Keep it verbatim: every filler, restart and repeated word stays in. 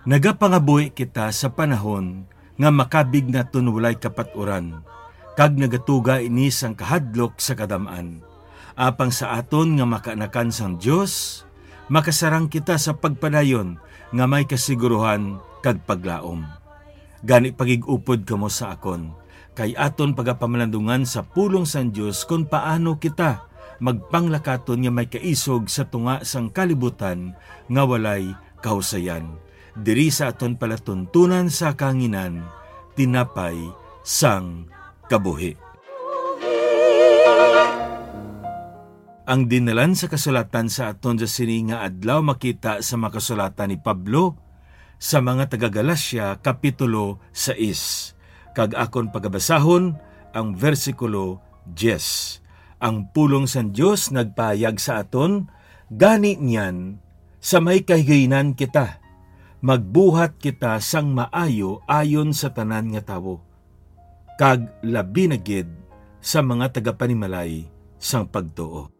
Nagapangabuhi kita sa panahon nga makabig naton walay kapat-uran, kag nagatuga ini sang kahadlok sa kadam-an. Apang sa aton nga makaanakan sang Dios, makasarang kita sa pagpadayon nga may kasiguruhan kag paglaom. Gani, pagig-upod kamo sa akon, kay aton pagapamalandungan sa pulong sang Dios kon paano kita magpanglakaton nga may kaisog sa tunga sang kalibutan nga walay kahusayan. Diri sa aton palatuntunan sa kahanginan, tinapay sang kabuhi. Ang dinalan sa kasulatan sa aton sa sini nga adlaw makita sa mga kasulatan ni Pablo sa mga taga-Galacia, Kapitulo sais, kag akon pagabasahon ang bersikulo diyes. Ang pulong sang Dios nagpahayag sa aton, gani niyan, sa may kahigayonan kita, magbuhat kita sang maayo ayon sa tanan nga tawo, kag labi na gid sa mga tagapanimalay sang pagtuo.